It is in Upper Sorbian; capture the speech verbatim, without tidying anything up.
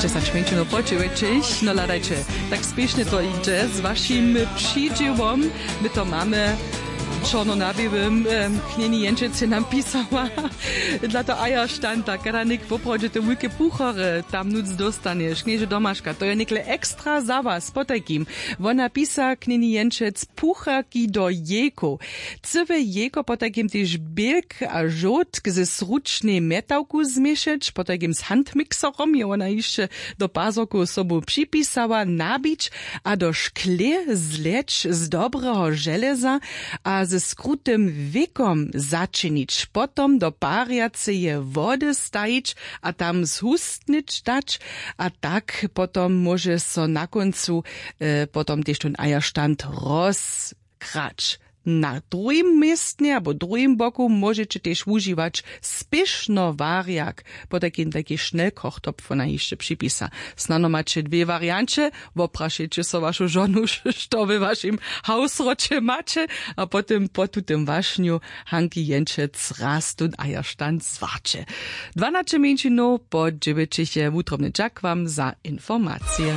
Dźesać mjeńšinow po dźewjećich. No hladajće, tak spěšnje to jědźe z wašim přidźěłom. My to mamy, čorno na běłym. Knjeni jenčec je nam pisała dla to aja štanta, kada něk woprawdźe te wulke puchary tam nóc dóstanješ, knježe domaška, to je někle ekstra za was. Potajkim wona pisa knjeni jenčec pucharki do jejkow. Cyłe jejko potajkim tež bělk a žołtk ze sručnej mjetawku změšeć, potajkim z handmixerom je wona hišće do pazorkow sobu připisała, nabić a do šklě zleć z dobreho železa a ze skrutym wěkom začinić, potom do parjaceje wody stajić a tam zhustnyć dać. A tak potom móže so na kóncu potom tež tón ajaštant rozkrać. Na druhim městnje abo druhim boku móžeće tež wužiwać spěšno warjak, potajkim tajki šnelkochtopf wona hišće připisa. Snano maće dwě warianće. Woprašeće so wašu žonu, što we wašim hawsroće maće, a potom po tutym wašnju hanki jenčec raz tón ajaštant zwarće. Dwanaće mjeńšinow po dźewjećich je. Wutrobny dźak wam za informacije.